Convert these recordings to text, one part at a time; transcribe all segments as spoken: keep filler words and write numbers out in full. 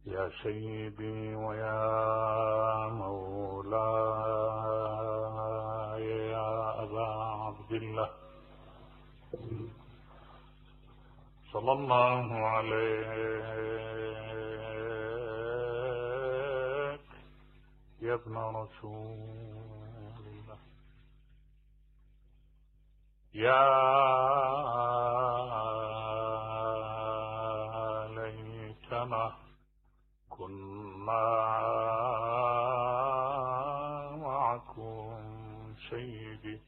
يا سيدي ويا مولاي يا أبا عبد الله صلى الله عليك يا ابن رسول الله. يا ليتنا كنا معكم سيدي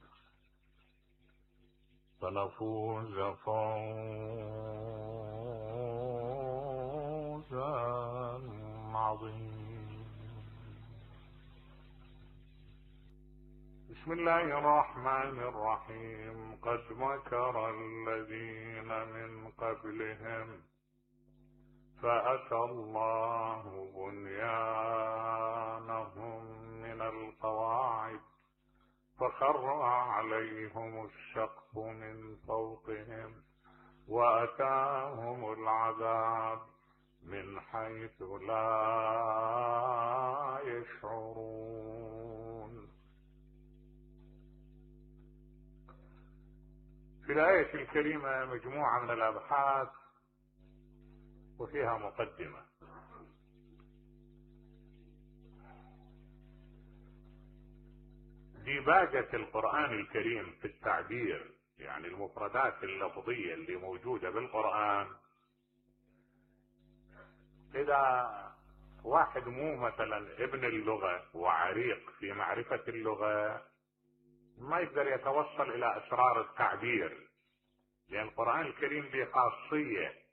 فنفوز فوزا عظيما. بسم الله الرحمن الرحيم. قد مكر الذين من قبلهم فأتى الله بنيانهم من القواعد فخر عليهم السقف من فوقهم وأتاهم العذاب من حيث لا يشعرون. في الآية الكريمة مجموعة من الأبحاث وفيها مقدمة. ديباجة القرآن الكريم في التعبير، يعني المفردات اللفظية اللي موجودة بالقرآن، إذا واحد مو مثلا ابن اللغة وعريق في معرفة اللغة ما يقدر يتوصل إلى أسرار التعبير، لأن القرآن الكريم به خاصية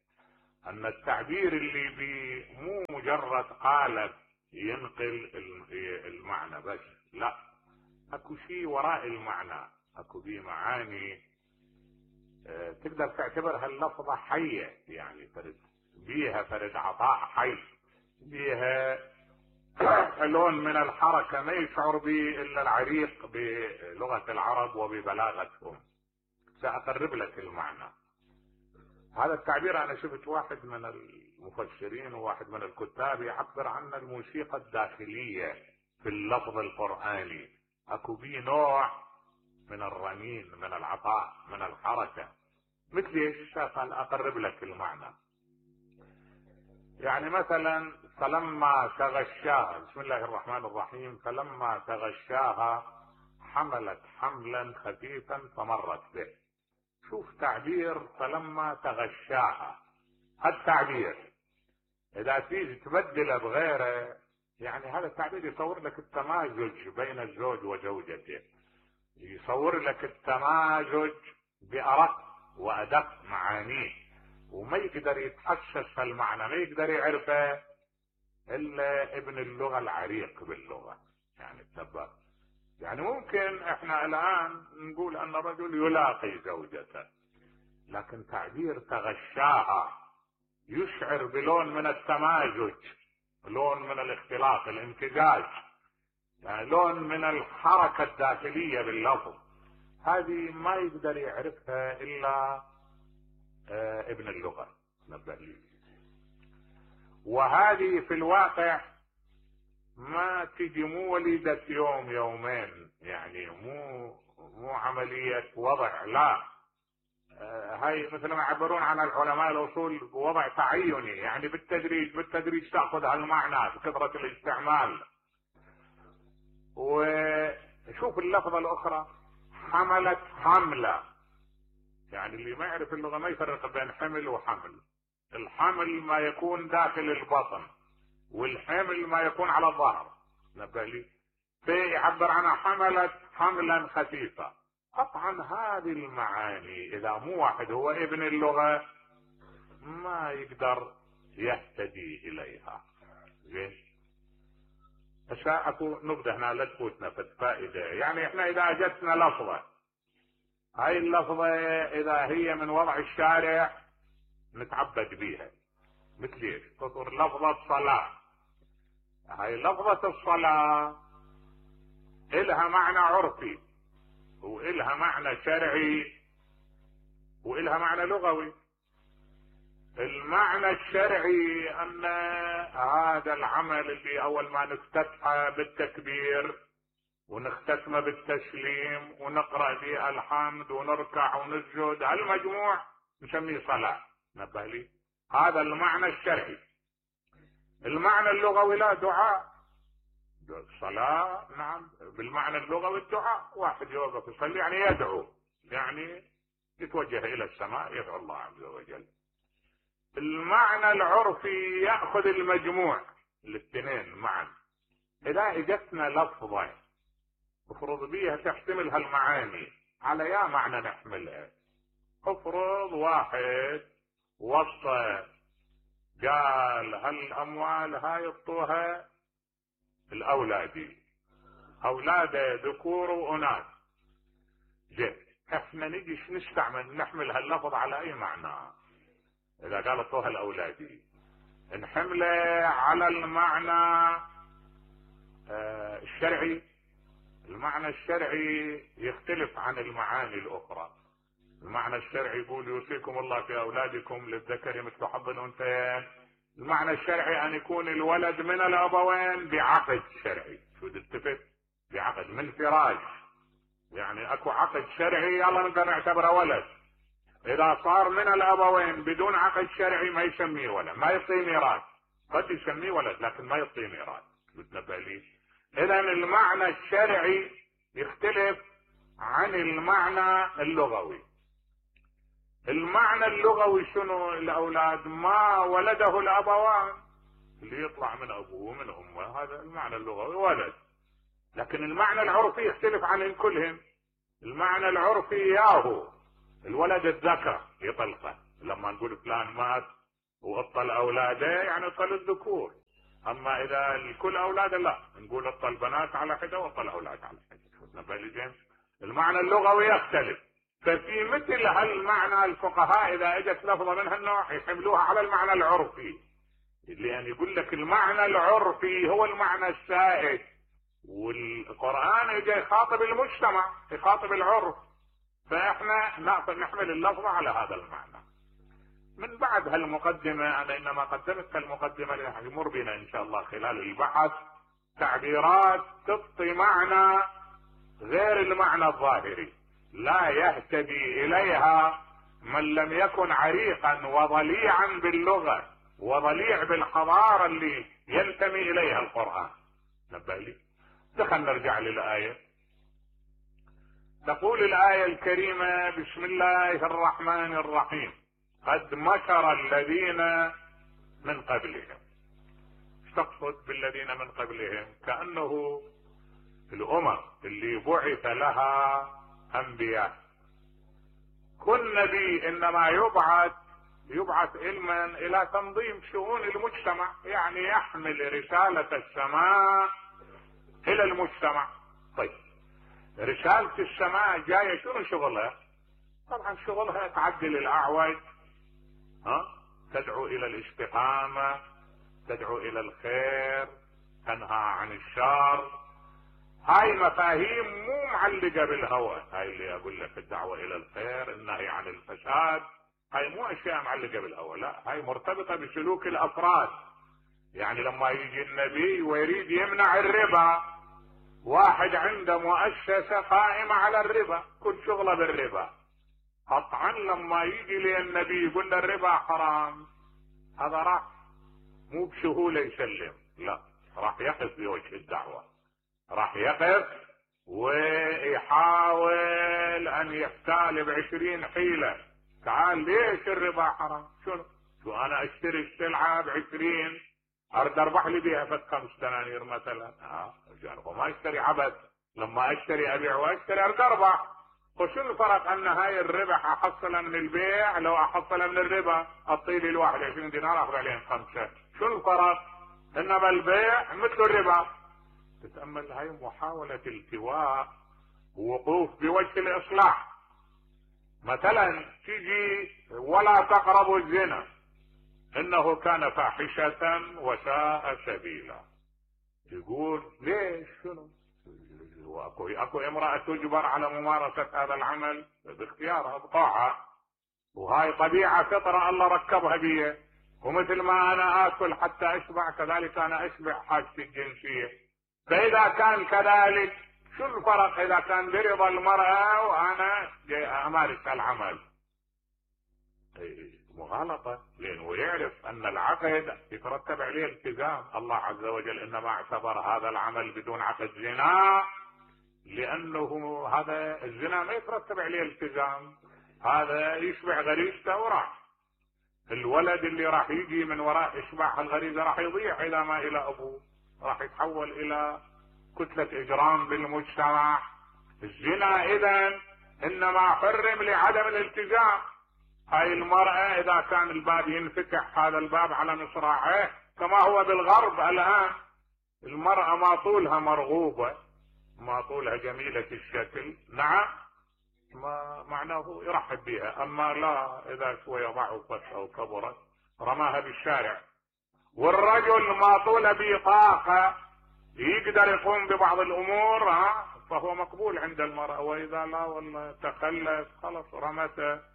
أن التعبير اللي بيه مو مجرد قالب ينقل المعنى بس، لا، اكو شيء وراء المعنى، اكو بيه معاني اه تقدر تعتبرها اللفظة حية، يعني فرد بيها فرد عطاء حي، بيها لون من الحركة ما يشعر به الا العريق بلغة العرب وببلاغتهم. سأقرب لك المعنى. هذا التعبير انا شفت واحد من المفسرين وواحد من الكتاب يعبر عن الموسيقى الداخلية في اللفظ القرآني، اكو بيه نوع من الرنين، من العطاء، من الحركة. مثل ايش؟ قال اقرب لك المعنى. يعني مثلا فلما تغشاها، بسم الله الرحمن الرحيم، فلما تغشاها حملت حملا خفيفا فمرت به. شوف تعبير فلما تغشاها، التعبير اذا تيجي تبدله بغيره، يعني هذا التعبير يصور لك التمازج بين الزوج وزوجته، يصور لك التمازج بأرق وأدق معانيه، وما يقدر يتحسس في المعنى، ما يقدر يعرفه الا ابن اللغة العريق باللغة. يعني التبع، يعني ممكن احنا الان نقول ان الرجل يلاقي زوجته، لكن تعبير تغشاها يشعر بلون من التمازج، لون من الاختلاط، الامتزاج، يعني لون من الحركة الداخلية باللفظ. هذه ما يقدر يعرفها الا اه ابن اللغة نبه لي. وهذه في الواقع ما تجي، مو وليدة يوم يومين، يعني مو مو عملية وضع، لا، آه هاي مثل ما يعبرون عن العلماء الاصول وضع تعيني، يعني بالتدريج بالتدريج تاخذ هالمعنى بكثرة الاستعمال. وشوف اللفظة الاخرى حملت حملة، يعني اللي ما يعرف اللغة ما يفرق بين حمل وحمل. الحمل ما يكون داخل البطن، والحمل ما يكون على الظهر نبه لي. فيعبر عنها حملت حملا خفيفا. قطعا هذه المعاني اذا مو واحد هو ابن اللغة ما يقدر يهتدي اليها. زين، اكو نبذة هنا لا تفوتنا في الفائدة. يعني احنا اذا اجتنا لفظة، هاي اللفظة اذا هي من وضع الشارع نتعبد بيها. مثل ايش؟ تطر لفظة صلاة، هاي لفظة الصلاة إلها معنى عرفي وإلها معنى شرعي وإلها معنى لغوي. المعنى الشرعي ان هذا العمل اللي اول ما نفتتحه بالتكبير ونختتمه بالتسليم ونقرأ فيه الحمد ونركع ونسجد، هالمجموع نسميه صلاة. نبه لي، هذا المعنى الشرعي. المعنى اللغوي لا، دعاء. صلاة نعم بالمعنى اللغوي الدعاء، واحد يوقف يصلي يعني يدعو، يعني يتوجه الى السماء يدعو الله عز وجل. المعنى العرفي يأخذ المجموع الاثنين معا. اذا اجتنا لفظة افرض بيها تحتمل هالمعاني، على يا معنى نحملها. افرض واحد وصى قال هالاموال هاي يعطوها الاولادي، اولاده ذكور واناث، زين احنا نجي نستعمل نحمل هاللفظ على اي معنى؟ اذا قال اعطوها الاولادي نحمله على المعنى آه الشرعي. المعنى الشرعي يختلف عن المعاني الاخرى. المعنى الشرعي يقول يوصيكم الله في اولادكم للذكر مثل حظ الانثيين. المعنى الشرعي ان يكون الولد من الابوين بعقد شرعي. شو تلتفت؟ بعقد من فراش، يعني اكو عقد شرعي يلا نقدر نعتبره ولد. اذا صار من الابوين بدون عقد شرعي ما يسميه ولد، ما يعطيه ميراث. قد يسميه ولد لكن ما يعطيه ميراث. بتنبه لي؟ اذا المعنى الشرعي يختلف عن المعنى اللغوي. المعنى اللغوي شنو؟ الاولاد ما ولده الابوان، اللي يطلع من ابوه ومن امه، هذا المعنى اللغوي ولد. لكن المعنى العرفي يختلف عن كلهم. المعنى العرفي ياهو الولد الذكر يطلقه، لما نقول فلان مات وأطل اولاده يعني أطل الذكور. اما اذا الكل اولاده لا، نقول أطل بنات على حده وأطل اولاد على حده. المعنى اللغوي يختلف. ففي مثل هالمعنى الفقهاء اذا اجت لفظه من هالنوع يحملوها على المعنى العرفي، لان يقول لك المعنى العرفي هو المعنى السائد، والقرآن اجى يخاطب المجتمع، يخاطب العرف، فاحنا نحمل اللفظة على هذا المعنى. من بعد هالمقدمة انا انما قدمت هالمقدمة ليمر بنا ان شاء الله خلال البحث تعبيرات تعطي معنى غير المعنى الظاهري، لا يهتدي اليها من لم يكن عريقا وضليعا باللغة وضليع بالحضارة اللي ينتمي اليها القرآن. نبه لي. دخل نرجع للآية. تقول الآية الكريمة: بسم الله الرحمن الرحيم. قد مكر الذين من قبلهم. ايش تقصد بالذين من قبلهم؟ كأنه الأمم اللي بعث لها أنبياء، كل نبي إنما يبعث يبعث علما إلى تنظيم شؤون المجتمع، يعني يحمل رسالة السماء إلى المجتمع. طيب رسالة السماء جاية شنو شغلها؟ طبعا شغلها تعدل الأعوج، ها؟ تدعو إلى الاستقامة، تدعو إلى الخير، تنهى عن الشر. هاي مفاهيم مو معلقة بالهوى. هاي اللي اقول لك الدعوة الى الخير، النهي عن الفساد، هاي مو اشياء معلقة بالهوى، لا، هاي مرتبطة بسلوك الافراد. يعني لما يجي النبي ويريد يمنع الربا، واحد عنده مؤسسة قائمة على الربا، كل شغله بالربا، قطعا لما يجي لي النبي يقول له الربا حرام، هذا راح مو بسهولة يسلم، لا، راح يقف بوجه الدعوة، راح يقف ويحاول ان يفتال بعشرين حيلة. تعال ليش الربا حرام؟ شنو؟ شو انا اشتري السلعة بعشرين ارد اربح لي بيها فت خمس دنانير مثلا، اه ما اشتري عبث، لما اشتري ابيع واشتري ارد اربح. وشو الفرق ان هاي الربح احصلها من البيع لو احصلها من الربا؟ اعطيلي الواحد عشرين دينار اخذ عليهم خمسة، شو الفرق؟ انما البيع مثل الربا. تتأمل هاي محاولة التواء ووقوف بوجه الإصلاح. مثلا تجي ولا تقربوا الزنا إنه كان فاحشة وساء سبيلا، يقول ليش؟ شنو؟ وأكو أكو امرأة تجبر على ممارسة هذا العمل باختيارها بطاعة، وهاي طبيعة فطرة الله ركبها بي، ومثل ما انا اكل حتى اشبع كذلك انا اشبع حاجتي الجنسية. فاذا كان كذلك شو الفرق اذا كان برضا المرأة وانا امارس العمل؟ مغالطة، لانه يعرف ان العقد يترتب عليه التزام. الله عز وجل انما اعتبر هذا العمل بدون عقد زنا، لانه هذا الزنا ما يترتب عليه التزام، هذا يشبع غريزته وراح. الولد اللي راح يجي من وراء اشباع الغريزة راح يضيع اذا ما الى ابوه، راح يتحول الى كتلة اجرام بالمجتمع. الزنا اذا انما حرم لعدم الالتزام. هاي المرأة اذا كان الباب ينفتح هذا الباب على مصراعيه كما هو بالغرب الان، المرأة ما طولها مرغوبة، ما طولها جميلة الشكل، نعم، ما معناه يرحب بها. اما لا، اذا شوية ضعفت او كبرت رماها بالشارع. والرجل ما طول به طاقة يقدر يقوم ببعض الامور ها فهو مقبول عند المرأة، واذا لا والله تخلف خلص رمته،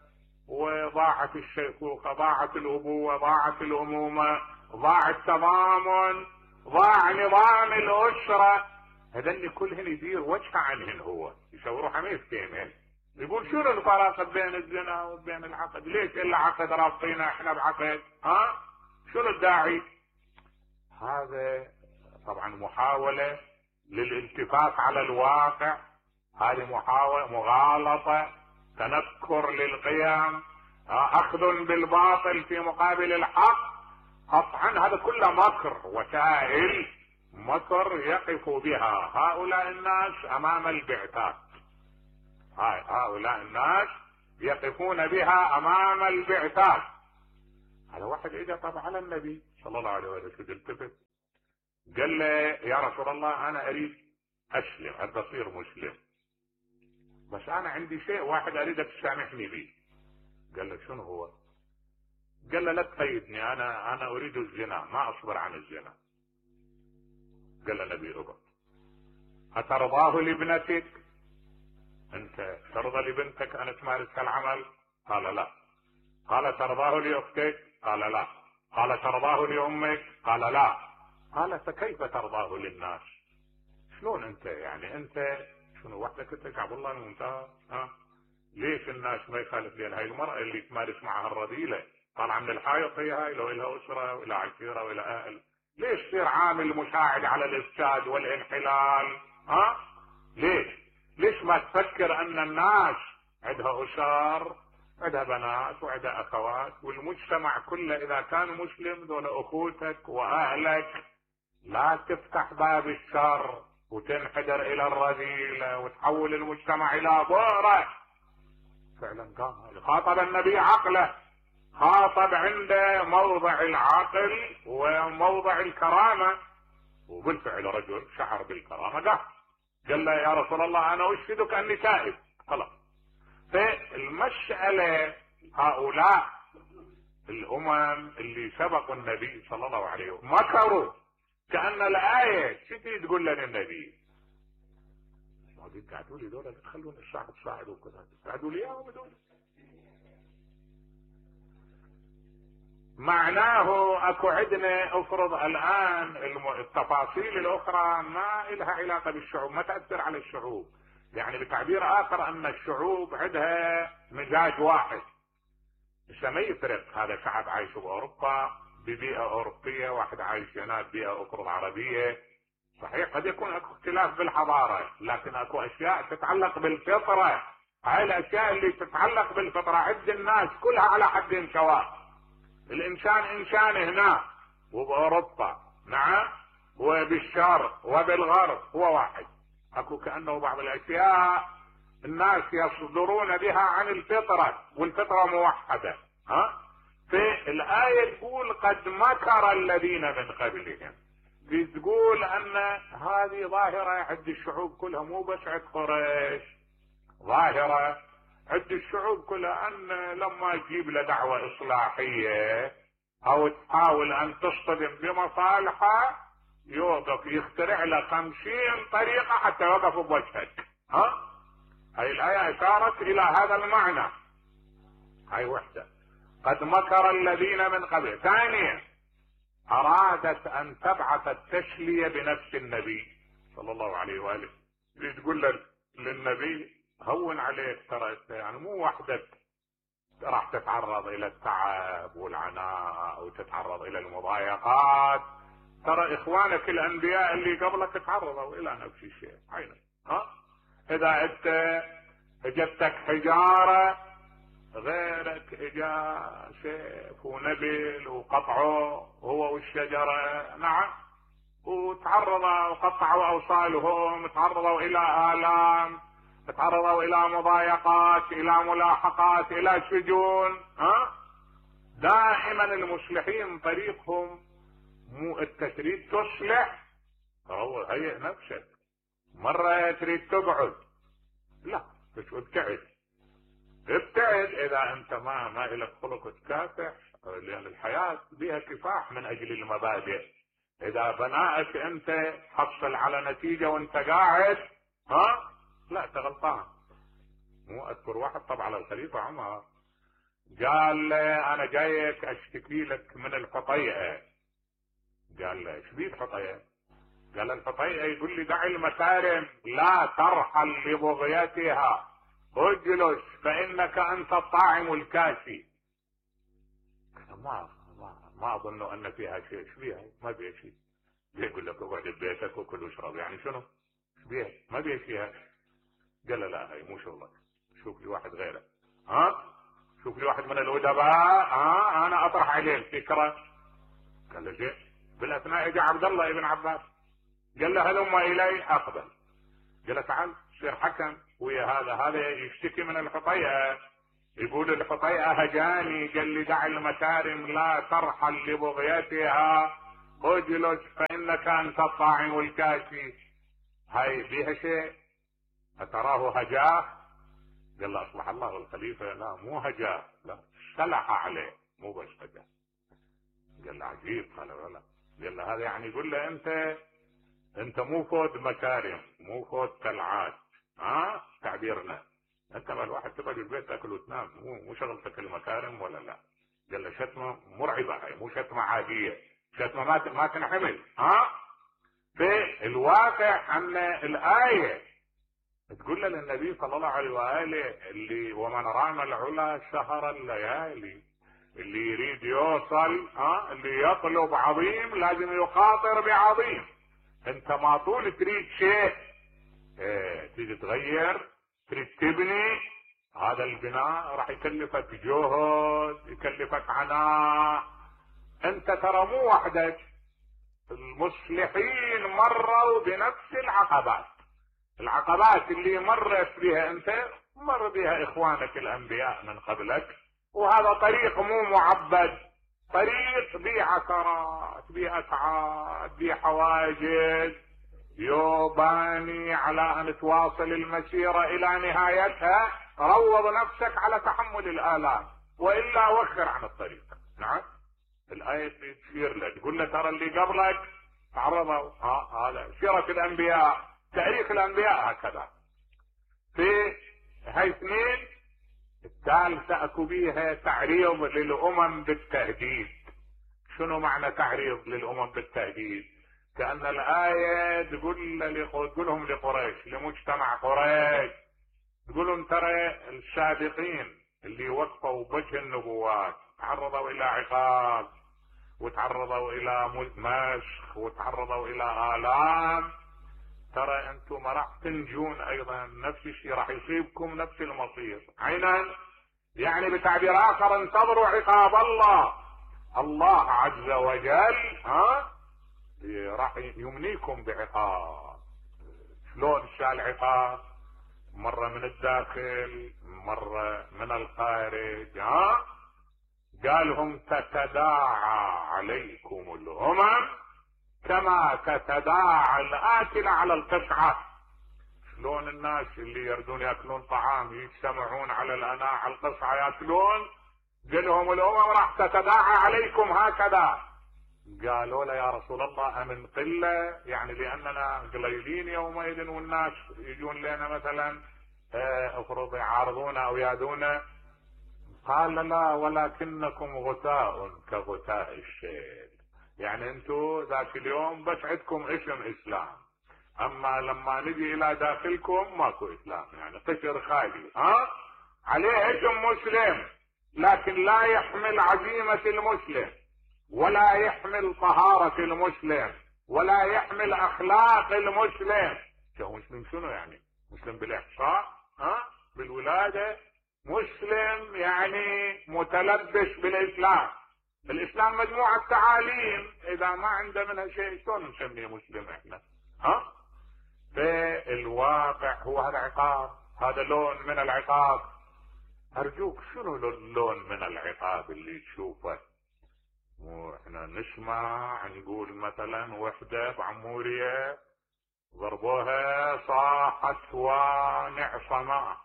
وضاعت الشيخوخة، ضاعت الابوة، ضاعت الامومة، ضاع التضامن، ضاع نظام الاسرة. هذني كلهن يدير وجه عنهن، هو يشاوروا حميد كيمين يقول شنو الفرق بين الزنا وبين العقد؟ ليش الا عقد رابطينا احنا بعقد؟ ها شنو الداعي؟ هذا طبعا محاولة للالتفات على الواقع، هذه محاولة مغالطة، تنكر للقيم، اخذ بالباطل في مقابل الحق. قطعا هذا كله مكر، وسائل مكر يقف بها هؤلاء الناس امام البعثات. هاي هؤلاء الناس يقفون بها امام البعثات. هذا واحد اجى طبعا على النبي صلى الله عليه وسلم، التفت قال له يا رسول الله انا اريد اسلم، ابى اصير مسلم، بس انا عندي شيء واحد اريدك تسامحني به. قال له شنو هو؟ قال له لا تقيدني، انا انا اريد الزنا، ما اصبر عن الزنا. قال له النبي اقعد. اترضاه لابنتك؟ انت ترضى لبنتك ان تمارس العمل؟ قال لا. قال ترضاه لاختك؟ قال لا. قال ترضاه لامك؟ قال لا. قال فكيف ترضاه للناس؟ شلون انت يعني انت شنو وحدك انت شعب الله الممتاز؟ ها ليش الناس ما يخالف لين هاي المرأة اللي تمارس معها الرذيلة طالعة من الحائط، هي هاي لو لها اسرة ولا عشيرة ولا اهل، ليش تصير عامل مساعد على الافساد والانحلال؟ ها ليش؟ ليش ما تفكر ان الناس عندها اسر، عندها بنات وعندها اخوات، والمجتمع كله اذا كان مسلم دول اخوتك واهلك، لا تفتح باب الشر وتنحدر الى الرذيلة وتحول المجتمع الى بؤرة. فعلا قال خاطب النبي عقله، خاطب عنده موضع العقل وموضع الكرامة، وبالفعل رجل شعر بالكرامة قال قال له يا رسول الله انا اشهدك اني تائب. خلاص. فالمسألة هؤلاء الامم اللي سبقوا النبي صلى الله عليه وسلم مكروا، كأن الآية شتي تقول لنا النبي ما قاعدوا لي دول تخلون الشعب تصاعدوا كذا، قاعدوا لي اياهم دول. معناه اكو عندنا افرض الان التفاصيل الاخرى ما لها علاقة بالشعوب، ما تأثر على الشعوب، يعني بتعبير اخر ان الشعوب عندها مزاج واحد، مش ما يفرق هذا شعب عايش باوروبا ببيئة اوروبية، واحد عايش هناك بيئة اخرى عربية. صحيح قد يكون اكو اختلاف بالحضارة، لكن اكو اشياء تتعلق بالفطرة، هاي الاشياء اللي تتعلق بالفطرة عند الناس كلها على حد سواء. الانسان انسان هنا وباوروبا نعم وبالشرق وبالغرب هو واحد. اكو كأنه بعض الاشياء الناس يصدرون بها عن الفطرة، والفطرة موحدة. ها في الآية تقول قد مكر الذين من قبلهم، تقول ان هذه ظاهرة عند الشعوب كلها، مو بس عند قريش، ظاهرة عند الشعوب كلها، ان لما تجيب له دعوة اصلاحية او تحاول ان تصطدم بمصالحه يوقف يخترع له خمسين طريقة حتى يوقف بوجهك. ها هاي الآية اشارت الى هذا المعنى. هاي وحدة. قد مكر الذين من قبل. ثانيا ارادت ان تبعث التشلية بنفس النبي صلى الله عليه وآله، تقول للنبي هون عليك، ترى يعني مو وحدك راح تتعرض الى التعب والعناء وتتعرض الى المضايقات، ترى اخوانك الانبياء اللي قبلك تعرضوا الى نفس الشيء. عينك ها، اذا انت اجتك حجارة غيرك اجا سيف ونبل وقطعوا هو والشجرة، نعم، وتعرضوا وقطعوا اوصالهم، تعرضوا الى الام، تعرضوا الى مضايقات، الى ملاحقات، الى سجون. ها، دائما المصلحين طريقهم مو انت تريد تصلح، هو هيئ نفسك. مرة تريد تقعد، لا مش ابتعد، ابتعد اذا انت ما ما لك خلق تكافح، لان الحياة بها كفاح من اجل المبادئ. اذا بنائك انت حصل على نتيجة وانت قاعد، ها لا انت غلطان. مو اذكر واحد طبعا على الخليفة عمر قال له انا جايك اشتكي لك من الحطيئة. قال له ايش بيك حطيئة؟ قال الحطيئة يقول لي دع المكارم لا ترحل لبغيتها، اجلس فانك انت الطاعم الكافي. ما ما ما اظن ان فيها شيء. ايش فيها؟ ما فيها شيء. يقول لك اقعد ببيتك وكل واشرب، يعني شنو؟ ايش بيها؟ ما فيها شيء. قال لا هاي مو شغلك، شوف لي واحد غيره. ها، شوف لي واحد من الادباء، ها انا اطرح عليه الفكره. قال له زين. بالاثناء اجى عبد الله ابن عباس قال له هلم الي اقبل. قال له تعال صير حكم ويا هذا، هذا يشتكي من الحطيئة، يقول الحطيئة هجاني، قال لي دع المكارم لا ترحل لبغيتها، اجلس فانك انت الطاعم الكافي. هاي فيها شيء؟ اتراه هجاه؟ قال له اصلح الله الخليفة، لا مو هجاه، لا سلح عليه مو بس هجاه. قال له عجيب. قال له لا. قال له هذا يعني يقول له انت انت مو فوت مكارم، مو فوت تلعات، ها تعبيرنا انت ما الواحد تقعد في البيت تاكل وتنام، مو مو شغلتك المكارم ولا لا. قال له شتمه مرعبه، هاي مو شتمه عاديه، شتمه ما ما تنحمل. ها، في الواقع ان الايه تقول للنبي صلى الله عليه واله اللي ومن رام العلا شهر الليالي، اللي يريد يوصل، ها اللي يطلب عظيم لازم يخاطر بعظيم. انت ما طول تريد شيء اه تريد تغير، تريد تبني، هذا البناء راح يكلفك جهد، يكلفك عناء. انت ترى مو وحدك، المصلحين مروا بنفس العقبات. العقبات اللي مرت بها انت مر بها اخوانك الانبياء من قبلك، وهذا طريق مو معبد، طريق بيه عثرات، بيه اتعاب، بيه حواجز، يوباني على ان تواصل المسيرة الى نهايتها. روض نفسك على تحمل الالام، والا وخر عن الطريق. نعم، الايه تشير لك تقول له ترى اللي قبلك تعرضوا، ها هذا سيرة الانبياء، تاريخ الانبياء هكذا. في هاي اثنين. الثالثة اكو بيها تعريض للامم بالتهديد. شنو معنى تعريض للامم بالتهديد؟ كأن الآية تقول تقولهم لقريش، لمجتمع قريش، تقولهم ترى السابقين اللي وقفوا بوجه النبوات تعرضوا الى عقاب، وتعرضوا الى مشخ، وتعرضوا الى آلام، ترى انتم ما راح تنجون ايضا، نفس الشيء راح يصيبكم نفس المصير. عينا يعني بتعبير اخر انتظروا عقاب الله. الله عز وجل ها راح يمنيكم بعقاب. شلون شال العقاب؟ مرة من الداخل، مرة من الخارج. ها قالهم تتداعى عليكم الامم كما تتداعى الاكل على القطعة. شلون الناس اللي يردون ياكلون طعام يجتمعون على الاناء على القطعة ياكلون، قالهم الامم راح تتداعى عليكم هكذا. قالوا له يا رسول الله امن قلة، يعني لاننا قليلين يومئذ والناس يجون لنا مثلا افرض يعارضونا او يادونا. قال لا ولكنكم غثاء كغثاء الشيل. يعني انتم ذاك اليوم بس عندكم اسم اسلام، اما لما نجي الى داخلكم ماكو اسلام، يعني قشر خالي، ها عليه اسم مسلم لكن لا يحمل عزيمة المسلم، ولا يحمل طهارة المسلم، ولا يحمل اخلاق المسلم. شو مسلم شنو يعني؟ مسلم بالاحصاء، ها بالولادة، مسلم يعني متلبس بالاسلام. الاسلام مجموعة تعاليم، اذا ما عنده منها شيء شلون نسميه مسلم احنا؟ ها فالواقع هو هذا عقاب، هذا لون من العقاب. ارجوك شنو اللون من العقاب اللي تشوفه؟ واحنا نسمع نقول مثلا وحدة بعمورية ضربوها صاحت ونعصما،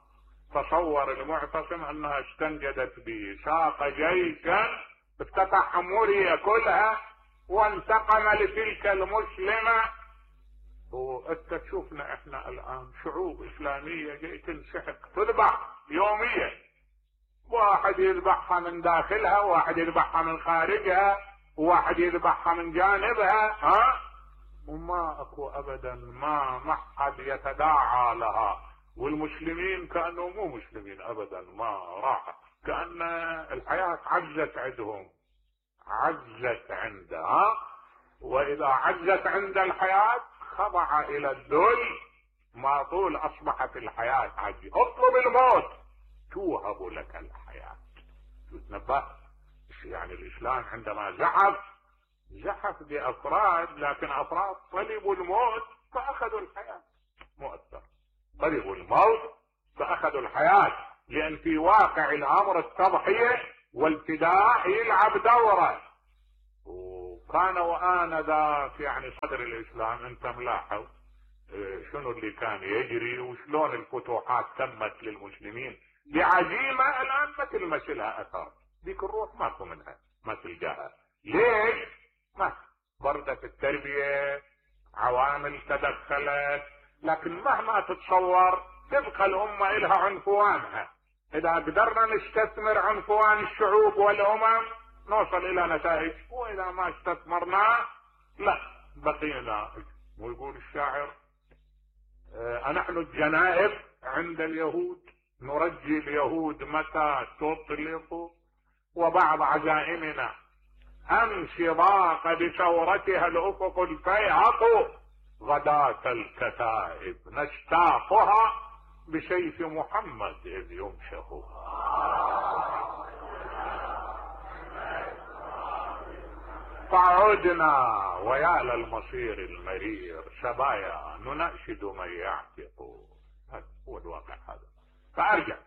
تصور المعتصم انها استنجدت بساق جيشا افتتح عمورية كلها وانتقم لتلك المسلمة. وانت تشوفنا احنا الان شعوب اسلامية جاي تنسحق تذبح يوميا، واحد يذبحها من داخلها، واحد يذبحها من خارجها، واحد يذبحها من جانبها، ها وما اكو ابدا، ما ما حد يتداعى لها. والمسلمين كانوا مو مسلمين ابدا، ما راح، كأن الحياة عجزت عندهم، عجزت عندها. واذا عجزت عند الحياة خضع الى الذل، ما طول اصبحت الحياة عجز. اطلب الموت توهب لك الحياة. تتنبه يعني الاسلام عندما زحف زحف بافراد، لكن افراد طلبوا الموت فاخذوا الحياة، مؤثر طلبوا الموت فاخذوا الحياة، لان في واقع الامر التضحية والفداء يلعب دوره. وكان وآنذاك يعني صدر الاسلام انت ملاحظ شنو اللي كان يجري وشلون الفتوحات تمت للمسلمين بعزيمة الان ما تلمس لها اثر. ذيك الروح ماكو منها، ما تلقاها. ليش؟ ما بردت التربية، عوامل تدخلت، لكن مهما تتصور تبقى الامة الها عنفوانها. اذا قدرنا نستثمر عنفوان الشعوب والامم نوصل الى نتائج، واذا ما استثمرنا لا بقينا. ويقول الشاعر اه نحن الجنائب عند اليهود نرجي اليهود متى تطلق، وبعض عزائمنا امس ضاق بثورتها الافق الفيهق، غداة الكتائب نشتاقها بسيف محمد اذ يمشق. فعدنا ويا للمصير المرير سبايا نناشد من يعتق. هذا هو الواقع هذا. فارجع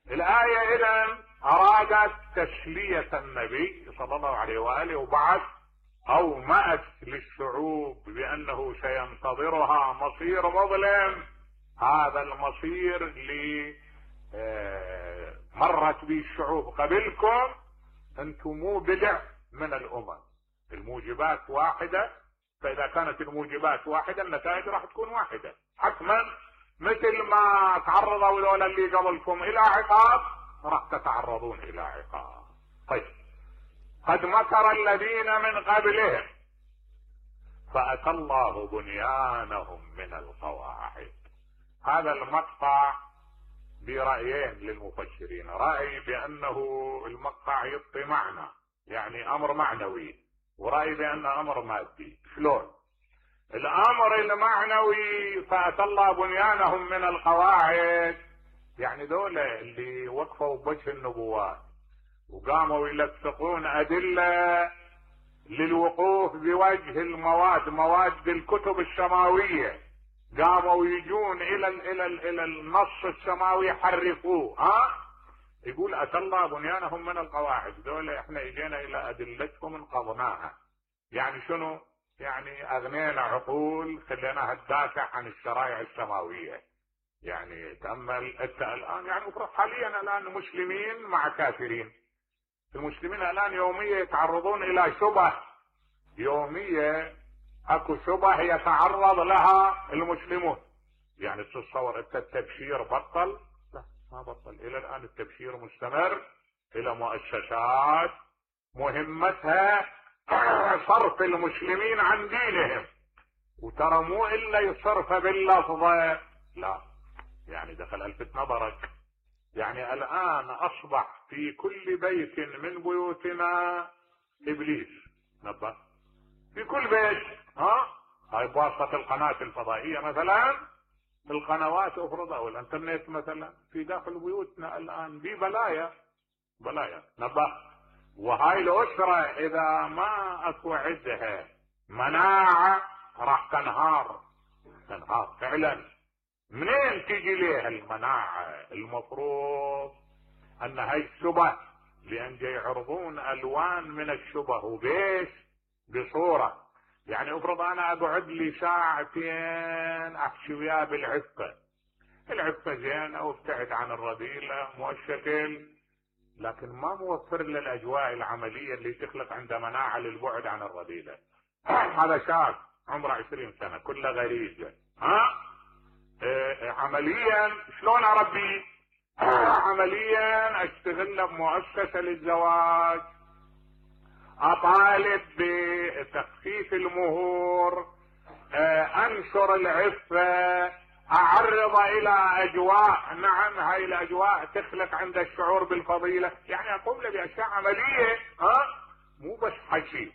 الآية إذن أرادت تسلية النبي صلى الله عليه وآله، وبعد أومأت للشعوب بأنه سينتظرها مصير مظلم. هذا المصير اللي مرت به الشعوب قبلكم، أنتم مو بدع من الأمم، الموجبات واحدة، فإذا كانت الموجبات واحدة النتائج راح تكون واحدة حتما. مثل ما تعرضوا ذولا اللي قبلكم الى عقاب راح تتعرضون الى عقاب. طيب قد مكر الذين من قبلهم فأتى الله بنيانهم من القواعد. هذا المقطع برأيين للمفسرين، رأي بأنه المقطع يعطي معنى يعني أمر معنوي، ورأي بأنه أمر مادي. شلون؟ الامر المعنوي فأتى الله بنيانهم من القواعد، يعني دولة اللي وقفوا بوجه النبوات وقاموا يلفقون ادلة للوقوف بوجه المواد، مواد الكتب السماوية، قاموا يجون الى ال الى ال الى النص السماوي يحرفوه. ها يقول اتى الله بنيانهم من القواعد، دولة احنا اجينا الى ادلتهم انقضناها. يعني شنو؟ يعني اغنينا عقول خليناها تدافع عن الشرائع السماوية. يعني تأمل انت الان، يعني المفروض حاليا الان مسلمين مع كافرين، المسلمين الان يوميا يتعرضون الى شبه، يوميا اكو شبه يتعرض لها المسلمون. يعني تتصور انت التبشير بطل؟ لا ما بطل، الى الان التبشير مستمر الى مؤسسات مهمتها صرف المسلمين عن دينهم، وترى مو الا يصرف باللفظة، لا يعني دخل الفت نظرك، يعني الان اصبح في كل بيت من بيوتنا ابليس، نبه في كل بيت. ها هاي بواسطة القناة الفضائية مثلا، القنوات افرض او الانترنت مثلا، في داخل بيوتنا الان دي بلايا بلايا، نبه. وهاي الاسرة اذا ما اكو عندها مناعة راح تنهار تنهار فعلا. منين تجي ليها المناعة؟ المفروض ان هاي الشبه، لان جاي يعرضون الوان من الشبه وبيش بصورة، يعني افرض انا اقعد لي ساعتين احكي وياه بالعفة، العفة زينة وابتعد عن الرذيلة مؤشكل، لكن ما موفر له الاجواء العملية اللي تخلق عنده مناعة للبعد عن الرذيلة. هذا شاب عمره عشرين سنة كله غريزة، ها إيه عمليا شلون اربيه؟ عمليا اشتغل بمؤسسة للزواج، اطالب بتخفيف المهور، انشر العفة، اعرض الى اجواء، نعم هاي الاجواء تخلق عند الشعور بالفضيلة، يعني اقوم له باشياء عملية، ها مو بس حكي،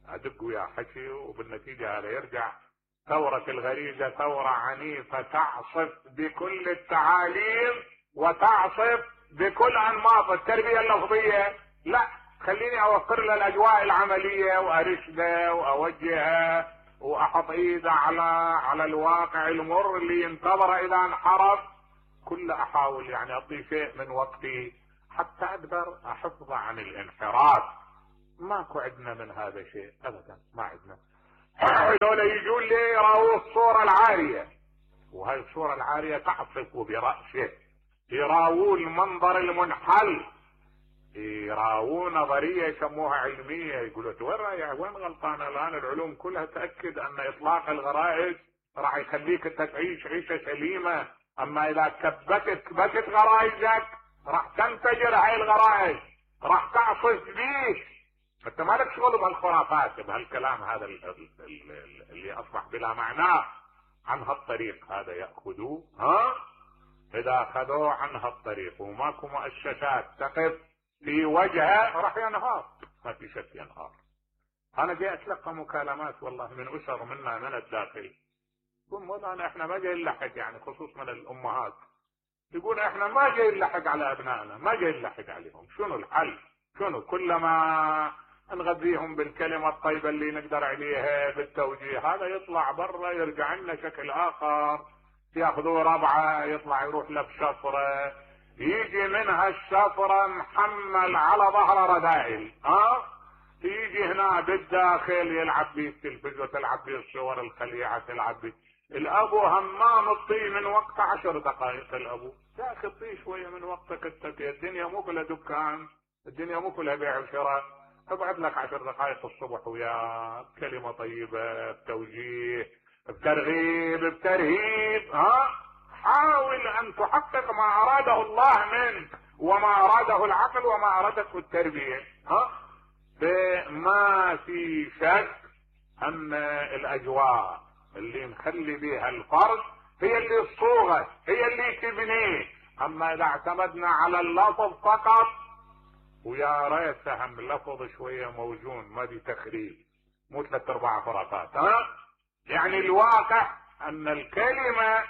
ادق ويا حكي وبالنتيجة هذا يرجع ثورة الغريزة ثورة عنيفة تعصف بكل التعاليم وتعصف بكل انماط التربية اللفظية. لا، خليني اوفر له الاجواء العملية وارشده واوجهه واحط ايده على على الواقع المر اللي ينتظره اذا انحرف. كل احاول يعني اعطي شيء من وقتي حتى اقدر احفظه عن الانحراف. ماكو عندنا من هذا شيء ابدا، ما عندنا. هذول يجون لي يراووا الصورة العارية، وهي الصورة العارية تعصف برأسه، يراووا المنظر المنحل، يراووا نظرية يسموها علمية، يقولوا وين يا وين غلطانة الان؟ العلوم كلها تأكد ان اطلاق الغرائز راح يخليك انت تعيش عيشة سليمة، اما اذا كبتت كبتت غرائزك راح تنفجر هاي الغرائز، راح تعصف بيك. انت مالك شغل بهالخرافات بهالكلام هذا اللي اصبح بلا معنى. عن هالطريق هذا يأخذوه، ها اذا اخذوه عن هالطريق وماكو مؤسسات تقف في وجهه راح ينهار، ما في شك ينهار. انا جاي اتلقى مكالمات والله من اسر منا من الداخل، يقول مولانا احنا ما جاي نلحق، يعني خصوص من الامهات، يقول احنا ما جاي نلحق على ابنائنا، ما جاي نلحق عليهم، شنو الحل؟ شنو؟ كلما نغذيهم بالكلمة الطيبة اللي نقدر عليها بالتوجيه، هذا يطلع برا يرجع لنا شكل اخر، ياخذوه ربعة يطلع يروح له بشفرة، يجي منها الشفرة محمل على ظهر رذائل، ها يجي هنا بالداخل يلعب بيه التلفزيون، تلعب بيه الصور الخليعة، تلعب بيه الابو همام الطي من وقت عشر دقائق. الابو يا اخي طي شوية من وقتك، انت الدنيا مو كلها دكان، الدنيا مو كلها بيع وشراء، ابعد لك عشر دقائق الصبح ويا كلمة طيبة بتوجيه بترغيب بترهيب، ها حاول ان تحقق ما اراده الله منك وما اراده العقل وما ارادته التربية. ها ما في شك ان الاجواء اللي نخلي بها الفرد هي اللي تصوغه، هي اللي تبنيه. اما اذا اعتمدنا على اللفظ فقط، ويا ريت فهم اللفظ شوية موزون، ما دي تخريب، مو ثلاث ارباع خرافات، ها يعني الواقع ان الكلمة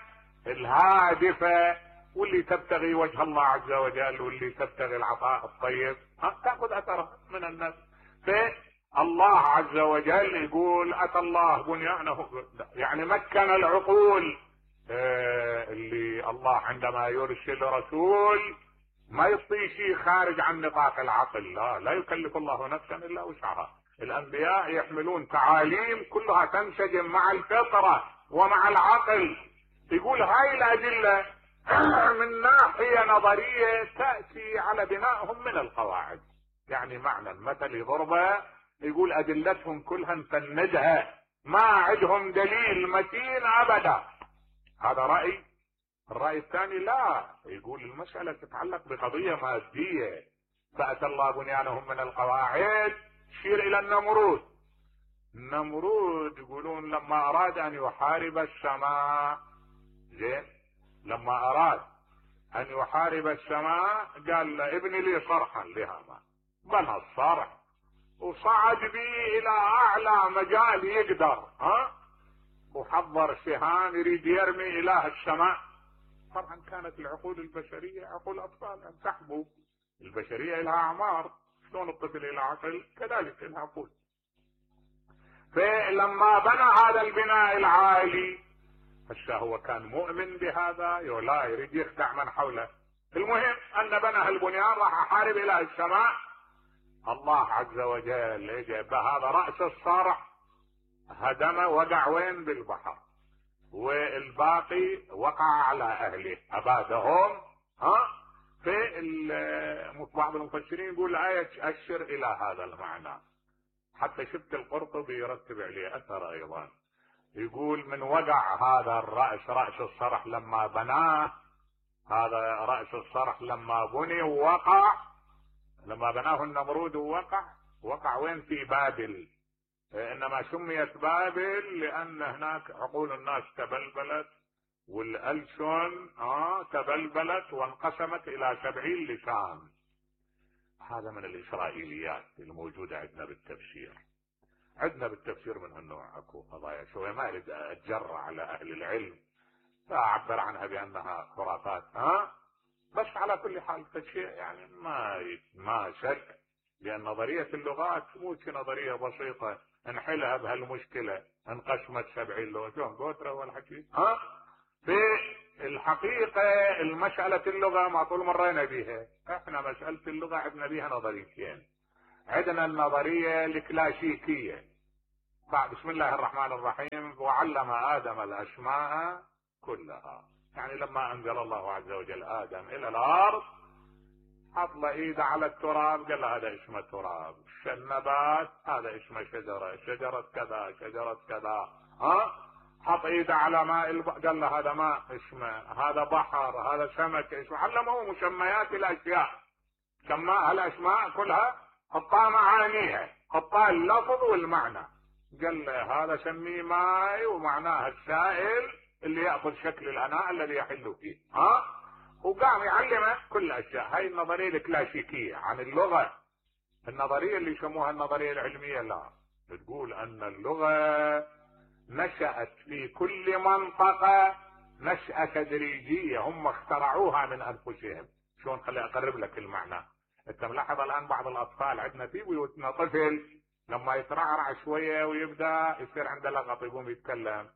الهادفة واللي تبتغي وجه الله عز وجل واللي تبتغي العطاء الطيب ها تأخذ اثرها من الناس. فالله عز وجل يقول اتى الله بنيانه، يعني مكن العقول، آه اللي الله عندما يرسل رسول ما يعطي شيء خارج عن نطاق العقل، لا لا يكلف الله نفسا الا وسعها. الانبياء يحملون تعاليم كلها تنسجم مع الفطرة ومع العقل. يقول هاي الادلة من ناحية نظرية تأتي على بنائهم من القواعد، يعني معنى المثل يضربه، يقول ادلتهم كلها نفندها، ما عندهم دليل متين ابدا. هذا رأي. الرأي الثاني لا، يقول المسألة تتعلق بقضية مادية، فأتى الله بنيانهم من القواعد، تشير الى النمرود. النمرود يقولون لما اراد ان يحارب السماء، زين، لما اراد ان يحارب السماء قال له ابني لي صرحا لهما، بنى الصرح وصعد به الى اعلى مجال يقدر، ها، وحضر سهام يريد يرمي اله السماء. طبعا كانت العقول البشرية عقول اطفال، ان تحبوا البشرية لها اعمار، شلون الطفل له عقل كذلك لها عقول. فلما بنى هذا البناء العالي، هسه هو كان مؤمن بهذا لا يريد يخدع من حوله. المهم ان بنى البنيان، راح احارب اله السماء. الله عز وجل اجى بهذا راس الصرح هدم، وقع وين؟ بالبحر، والباقي وقع على اهله ابادهم. ها، في بعض المفسرين يقول الايه تؤشر الى هذا المعنى، حتى شفت القرطبي يرتب عليه اثر ايضا، يقول من وقع هذا الراس، راس الصرح لما بناه، هذا راس الصرح لما بني ووقع، لما بناه النمرود ووقع، وقع وين؟ في بابل. انما سميت بابل لان هناك عقول الناس تبلبلت، والألسن آه تبلبلت وانقسمت الى سبعين لسان. هذا من الاسرائيليات الموجودة عندنا بالتفسير. عندنا بالتفسير من هالنوع اكو قضايا شوية ما اريد اتجرأ على اهل العلم فاعبر عنها بانها خرافات، ها، بس على كل حال فشيء يعني ما ما شك، لان نظرية اللغات مو نظرية بسيطة انحلها بهالمشكلة، انقسمت سبعين لغة، شلون قوترة والحكي، ها. في الحقيقة المسألة اللغة ما طول مرينا بيها، احنا مسألة اللغة عندنا بيها نظريتين. عندنا النظرية الكلاسيكية، بسم الله الرحمن الرحيم، وعلم آدم الأسماء كلها، يعني لما أنزل الله عز وجل آدم إلى الأرض حط له ايده على التراب، قال له هذا اسمه تراب، النبات هذا اسمه شجرة، شجرة كذا، شجرة كذا، ها، حط ايده على ماء الب... قال له هذا ماء اسمه، هذا بحر، هذا سمك اسمه، علمه مسميات الاشياء، سماها الاسماء كلها، حطها معانيها، حطها اللفظ والمعنى، قال له هذا سميه ماء ومعناه السائل اللي ياخذ شكل الاناء الذي يحل فيه، ها، وقام يعلمه كل الاشياء. هاي النظريه الكلاسيكيه عن اللغه. النظريه اللي يسموها النظريه العلميه لا، تقول ان اللغه نشأت في كل منطقه نشأة تدريجيه، هم اخترعوها من انفسهم. شلون؟ خلي اقرب لك المعنى. انت ملاحظ الان بعض الاطفال عندنا في بيوتنا طفل لما يترعرع شويه ويبدا يصير عنده لغط يقوم يتكلم،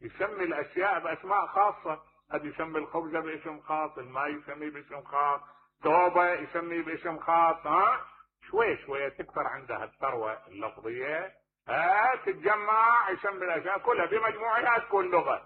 يسمي الاشياء باسماء خاصه، قد يسمي الخبزه باسم خاص، الماء يسميه باسم خاص، توبه يسميه باسم خاص، ها، شوي شوي تكثر عندها الثروه اللفظيه، ها، تتجمع يسمي الاشياء كلها بمجموعها تكون لغه.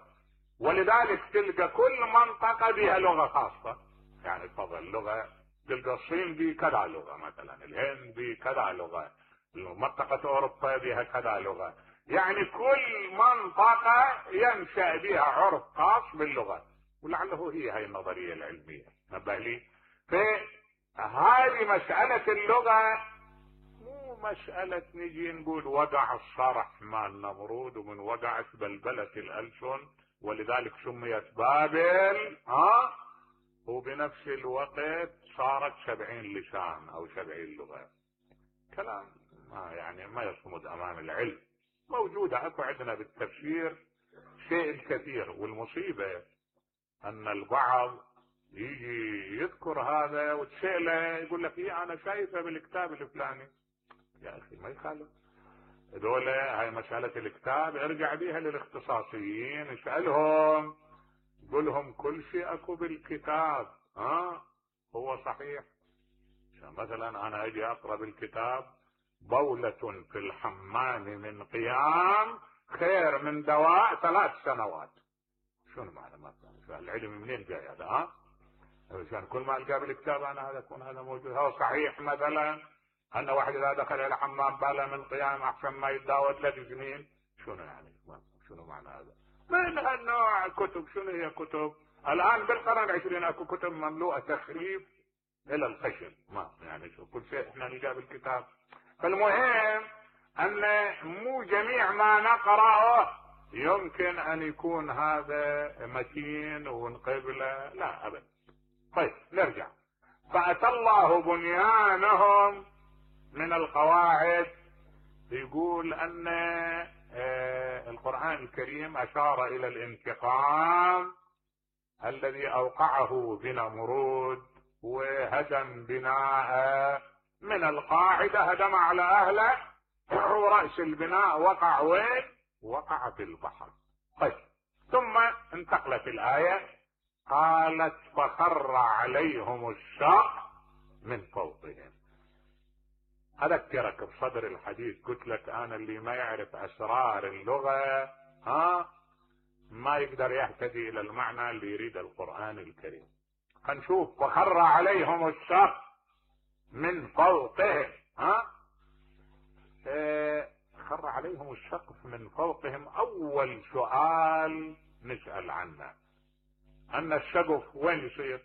ولذلك تلقى كل منطقه بها لغه خاصه، يعني تفضل لغه، تلقى الصين بكذا لغه، مثلا الهند بكذا لغه، منطقه اوروبا بها كذا لغه، يعني كل منطقة ينشأ بها عرف خاص باللغة. ولعله هي هاي النظرية العلمية، نبه لي. فهذه مسألة اللغة مو مسألة نجي نقول وقع الصرح مع النمرود ومن وقعت بلبلة الألسن ولذلك سميت بابل، ها، وبنفس الوقت صارت سبعين لسان أو سبعين لغة. كلام ما يعني ما يصمد أمام العلم. موجودة اكو عندنا بالتفسير شيء كثير، والمصيبة ان البعض يجي يذكر هذا وتسأله يقول لك ايه انا شايفه بالكتاب الفلاني. يا اخي ما يخالف، دولة هاي مسألة الكتاب ارجع بيها للاختصاصيين، اسألهم، قل لهم كل شيء اكو بالكتاب، ها، هو صحيح. مثلا انا اجي اقرأ بالكتاب بولة في الحمام من قيام خير من دواء ثلاث سنوات. شنو معنى مثلا؟ العلم منين جاي هذا؟ ها؟ عشان كل ما القاه بالكتاب انا هذا يكون هذا موجود. هو صحيح مثلا ان واحد اذا دخل الى حمام بال من قيام احسن ما يتداوى ثلاث سنين. شنو يعني؟ شنو معنى هذا؟ من هالنوع كتب. شنو هي كتب؟ الان بالقرن العشرين اكو كتب مملوءه تخريف الى الخشن، ما يعني كل شيء احنا نلقاه بالكتاب. فالمهم ان مو جميع ما نقرأه يمكن ان يكون هذا متين ونقبله، لا ابدا. طيب نرجع. فأتى الله بنيانهم من القواعد. يقول ان القرآن الكريم اشار الى الانتقام الذي اوقعه بنمرود، وهدم بناء من القاعدة، هدم على اهله، ورأس البناء وقع وين؟ وقع في البحر. طيب ثم انتقلت الآية، قالت فخر عليهم الشق من فوقهم. اذكرك بصدر الحديث قلت لك انا اللي ما يعرف اسرار اللغة ها ما يقدر يهتدي الى المعنى اللي يريد القرآن الكريم. هنشوف فخر عليهم الشق من فوقهم. ها اه خر عليهم السقف من فوقهم. اول سؤال نسأل عنه ان السقف وين يصير؟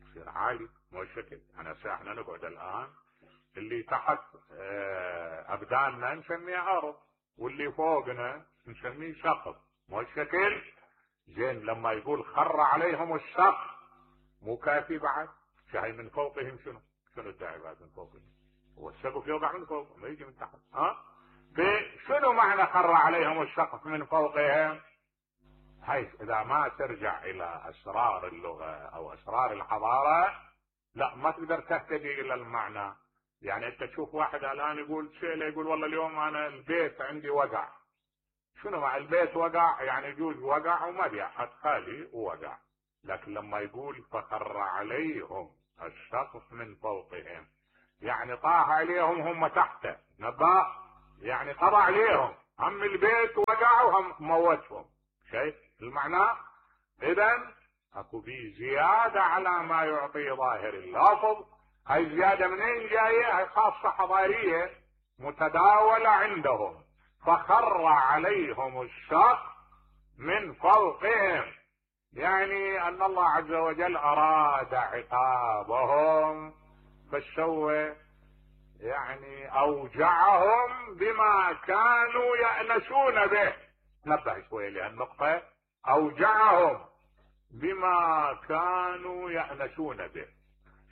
يصير عالي، مو شكل. انا احنا نقعد الان اللي تحت اه ابداننا نسميه ارض، واللي فوقنا نسميه سقف، مو شكل. زين لما يقول خر عليهم السقف مو كافي بعد؟ شاي من فوقهم شنو؟ شنو الداعي بعد من فوقهم؟ هو السقف يوقع من فوق ما يجي من تحت. ها شنو معنى خر عليهم السقف من فوقهم؟ حيث اذا ما ترجع الى اسرار اللغة او اسرار الحضارة لا ما تقدر تهتدي الى المعنى. يعني انت تشوف واحد الان يقول شيء، يقول والله اليوم انا البيت عندي وقع. شنو مع البيت وقع؟ يعني يجوز وقع وما بي احد خالي ووقع. لكن لما يقول فخر عليهم السقف من فوقهم يعني طاح عليهم هم تحته نبا، يعني قضى عليهم، هم البيت وقع وهم موتهم. شايف المعنى؟ اذا اكو بي زيادة على ما يعطي ظاهر اللفظ. هاي زيادة منين جاية؟ هاي خاصة حضارية متداولة عندهم. فخر عليهم السقف من فوقهم يعني ان الله عز وجل اراد عقابهم فسوى يعني اوجعهم بما كانوا يأنسون به. نبه شوية لهالنقطة، اوجعهم بما كانوا يأنسون به.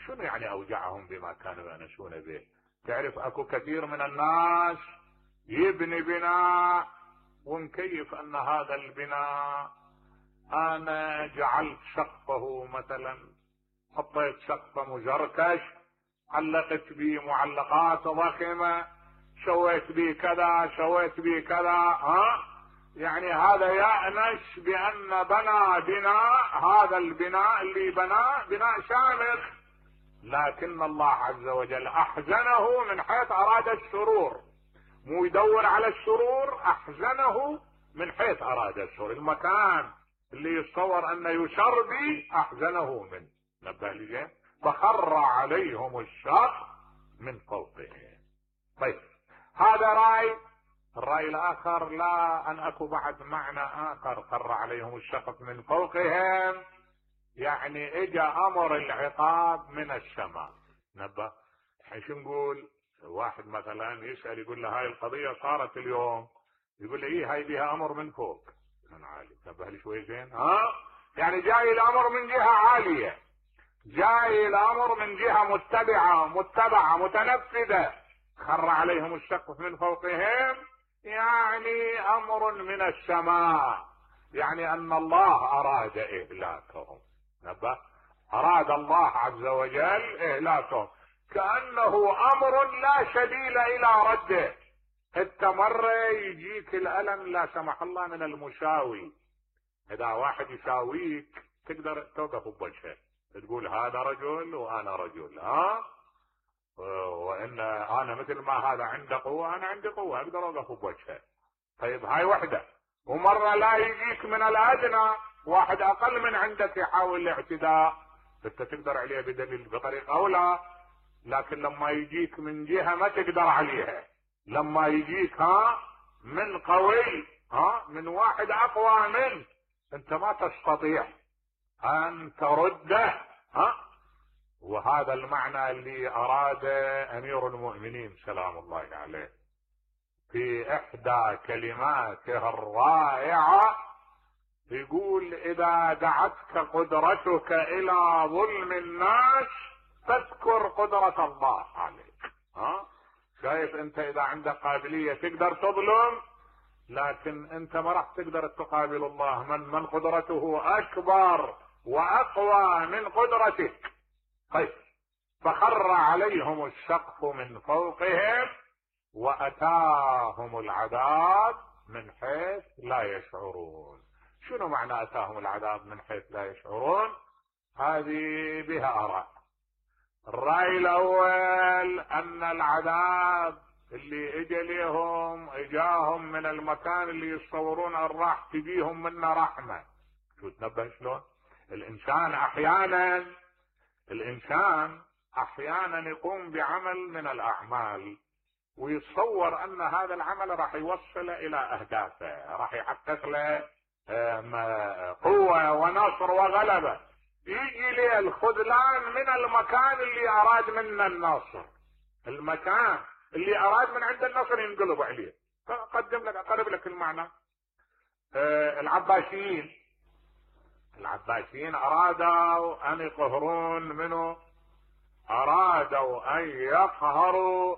شنو يعني اوجعهم بما كانوا يأنسون به؟ تعرف اكو كثير من الناس يبني بناء ومكيف ان هذا البناء انا جعلت سقفه مثلا، حطيت سقفه مزركش، علقت به معلقات ضخمة، سويت به كذا سويت به كذا. ها يعني هذا يأنس بان بنى بناء، هذا البناء اللي بناه بناء شامخ، لكن الله عز وجل احزنه من حيث اراد السرور. مو يدور على السرور، احزنه من حيث اراد السرور. المكان اللي يتصور انه يسر به احزنه منه. نبه لي. فخر عليهم السقف من فوقهم. طيب هذا راي. الراي الاخر لا، ان اكو بعد معنى اخر. خر عليهم السقف من فوقهم يعني اجى امر العقاب من السماء. نبه. الحين شو نقول؟ واحد مثلا يسأل يقول له هاي القضية صارت اليوم، يقول له ايه هاي بها امر من فوق من عالي. نبه لي شوي زين. ها يعني جاي الامر من جهة عالية، جاي الامر من جهة متبعة متبعة متنفذة. خر عليهم السقف من فوقهم يعني امر من السماء، يعني ان الله اراد اهلاكهم. نبه. اراد الله عز وجل اهلاكهم، كأنه امر لا سبيل الى رده. انت مرة يجيك الالم لا سمح الله من المساوي، اذا واحد يساويك تقدر توقف بوجهه تقول هذا رجل وانا رجل. ها وان انا مثل ما هذا عنده قوة انا عندي قوة اقدر اوقف بوجهه. طيب هاي وحدة. ومرة لا يجيك من الادنى واحد اقل من عندك يحاول الاعتداء، انت تقدر عليه بدليل بطريقة او لا. لكن لما يجيك من جهة ما تقدر عليها، لما يجيك ها من قوي، ها من واحد اقوى منك، انت ما تستطيع ان ترده. ها وهذا المعنى اللي اراد امير المؤمنين سلام الله عليه في احدى كلماته الرائعة، يقول اذا دعتك قدرتك الى ظلم الناس فاذكر قدرة الله عليك. ها شايف انت اذا عندك قابلية تقدر تظلم، لكن انت ما راح تقدر تقابل الله من من قدرته اكبر واقوى من قدرتك. طيب فخر عليهم السقف من فوقهم واتاهم العذاب من حيث لا يشعرون. شنو معنى اتاهم العذاب من حيث لا يشعرون؟ هذه بها اراء. الرأي الاول ان العذاب اللي اجى ليهم اجاهم من المكان اللي يتصورون ان راح تجيهم منه رحمة. شو تنبه شلون؟ الانسان احيانا الانسان احيانا يقوم بعمل من الاعمال ويتصور ان هذا العمل راح يوصل الى اهدافه، راح يحقق له قوة ونصر وغلبة. يجي ليه الخذلان من المكان اللي اراد منه النصر، المكان اللي اراد من عند النصر ينقلب عليه. اقدم لك اقرب لك المعنى. العباسيين العباسيين ارادوا ان يقهرون منه، ارادوا ان يقهروا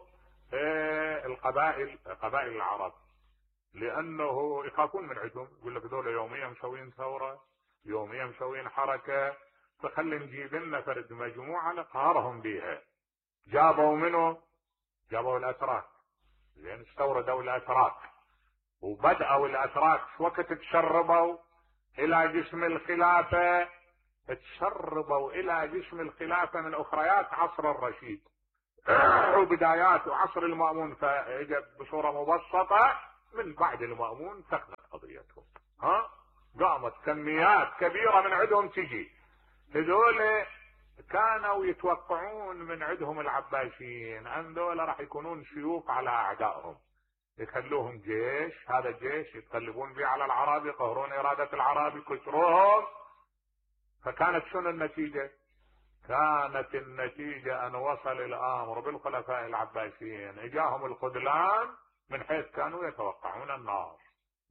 القبائل قبائل العرب، لانه يخافون من عندهم. يقول لك دول يوميا مسوين ثورة، يوميا مسوين حركة، فخلي نجيب لنا فرد مجموعة نقهرهم بيها. جابوا منه جابوا الاتراك، لان استوردوا الاتراك وبدأوا الاتراك وقت تشربوا الى جسم الخلافة، تشربوا الى جسم الخلافة من اخريات عصر الرشيد وبدايات عصر المأمون، فاجت بصورة مبسطة من بعد المأمون تخلت قضيتهم. ها قامت كميات كبيرة من عندهم تجي. هذول كانوا يتوقعون من عندهم العباسيين ان دول راح يكونون سيوف على اعدائهم، يخلوهم جيش، هذا الجيش يتقلبون به على العرب، يقهرون ارادة العرب، يكسروهم. فكانت شنو النتيجة؟ كانت النتيجة ان وصل الامر بالخلفاء العباسيين اجاهم الخذلان من حيث كانوا يتوقعون النار.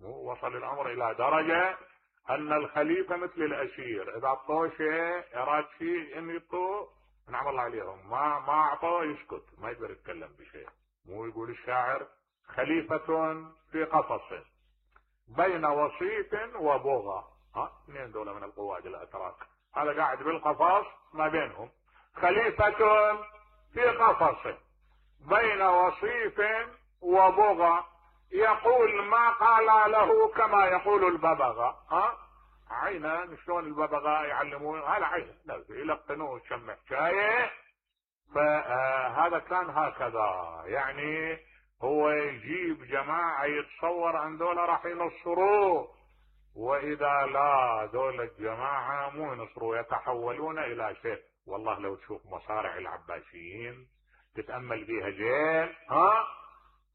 وصل الامر الى درجة ان الخليفة مثل الاسير، اذا اعطوه شيء اراد شيء ان يعطوه نعم الله عليهم، ما ما اعطوه يسكت، ما يقدر يتكلم بشيء. مو يقول الشاعر خليفة في قفص بين وصيف وبغى. ها اثنين دولة من القواد الاتراك، هذا قاعد بالقفص ما بينهم، خليفة في قفص بين وصيف وبغى يقول ما قال له كما يقول الببغاء. ها عينا شلون الببغاء يعلمون، هذا عين يلقنوه شم حكايه. فهذا كان هكذا، يعني هو يجيب جماعة يتصور ان دول راح ينصروه، واذا لا دول الجماعة مو ينصروا، يتحولون الى شيء. والله لو تشوف مصارع العباسيين تتأمل بيها زين، ها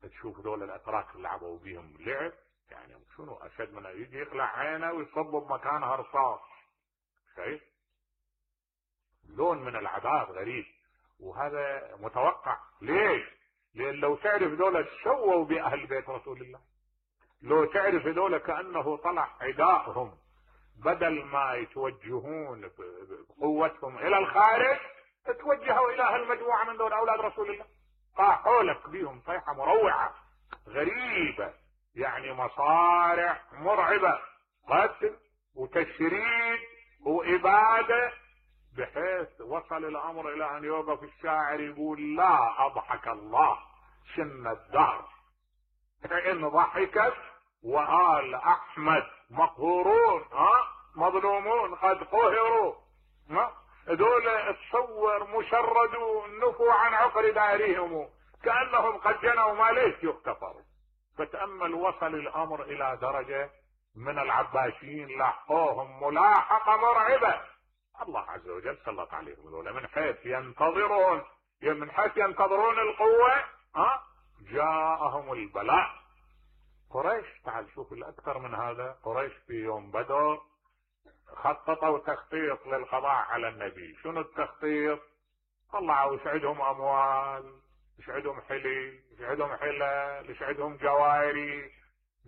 تشوف دول الاتراك اللي لعبوا بيهم لعب، يعني شنو اشد من يجي يخلع عينه ويصب بمكانها رصاص. شايف لون من العذاب غريب، وهذا متوقع. ليش؟ لان لو تعرف دول سووا باهل بيت رسول الله، لو تعرف دول كانه طلع عدائهم بدل ما يتوجهون بقوتهم الى الخارج توجهوا الى هالمجموعه من دول اولاد رسول الله، طاحوا لك بيهم طيحه مروعه غريبه، يعني مصارع مرعبه، قتل وتشريد واباده، بحيث وصل الامر الى ان يوقف الشاعر يقول لا اضحك الله سن الدهر ان ضحكت وآل احمد مقهورون، ها مظلومون قد قهروا. ها دول تصور مشردوا نفوا عن عقر دارهم كأنهم قد جنوا ما ليش يغتفروا. فتأمل وصل الامر الى درجة من العباسيين لاحقوهم ملاحقة مرعبة. الله عز وجل سلط عليهم دول من حيث ينتظرون من حيث ينتظرون القوة، ها جاءهم البلاء. قريش تعال شوف الاكثر من هذا، قريش في يوم بدر خططوا تخطيط للقضاء على النبي. شنو التخطيط؟ طلعوا وش عندهم اموال، وش عندهم حلي، وش عندهم حلل، وش عندهم جواهري.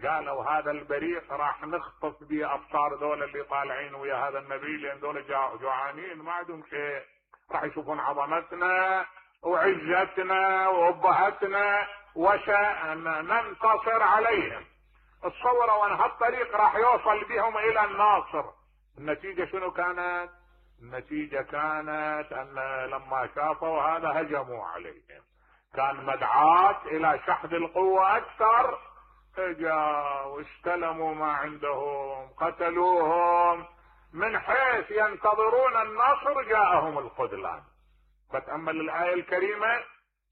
قالوا هذا البريق راح نخطف به ابصار ذول اللي طالعين ويا هذا النبي، لان ذول جوعانين ما عندهم شيء، راح يشوفون عظمتنا وعزتنا وابهتنا وسننتصر عليهم. تصوروا ان هالطريق راح يوصل بهم الى الناصر. النتيجة شنو كانت؟ النتيجة كانت ان لما شافوا هذا هجموا عليهم، كان مدعاة الى شحذ القوة اكثر، اجا واستلموا ما عندهم، قتلوهم. من حيث ينتظرون النصر جاءهم الخذلان. فتأمل الآية الكريمة،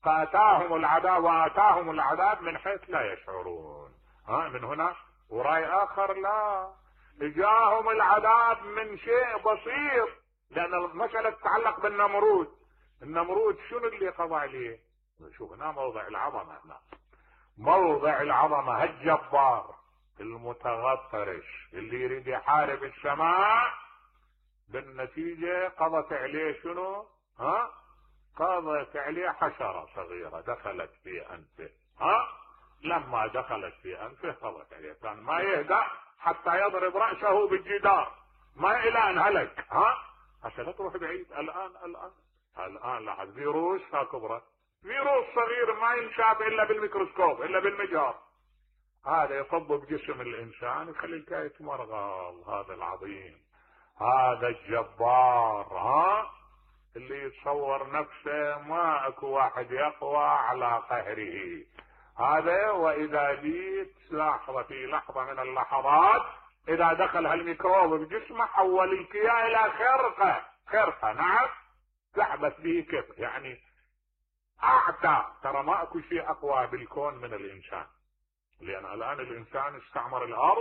فأتاهم العذاب وآتاهم العذاب من حيث لا يشعرون. ها من هنا ورأي آخر لا، جاءهم العذاب من شيء بسيط، لأن المسألة تتعلق بالنمرود. النمرود شنو اللي قضى عليه؟ شوف هنا موضع العظمة، هنا موضع العظمة. هالجبار المتغطرش اللي يريد يحارب السماء، بالنتيجة قضت عليه شنو؟ ها قضت عليه حشرة صغيرة دخلت في أنفه. ها لما دخلت في أنفه قضت عليه، كان ما يهدأ حتى يضرب رأسه بالجدار، ما إلى أن هلك. ها عشان لا تروح بعيد. الآن الآن الآن لاحظ فيروس كبرى، فيروس صغير ما ينشاف إلا بالميكروسكوب إلا بالمجهر، هذا يصب بجسم الإنسان يخلي الكاية مرغل. هذا العظيم، هذا الجبار، ها اللي يتصور نفسه ما اكو واحد يقوى على قهره. هذا واذا جيت لحظة في لحظة من اللحظات اذا دخل هالميكروب بجسمه حول الكيان الى خرقة. خرقة نعم تحبس به كيف يعني اعتى. ترى ما اكو شيء اقوى بالكون من الانسان، لان الان الانسان استعمر الارض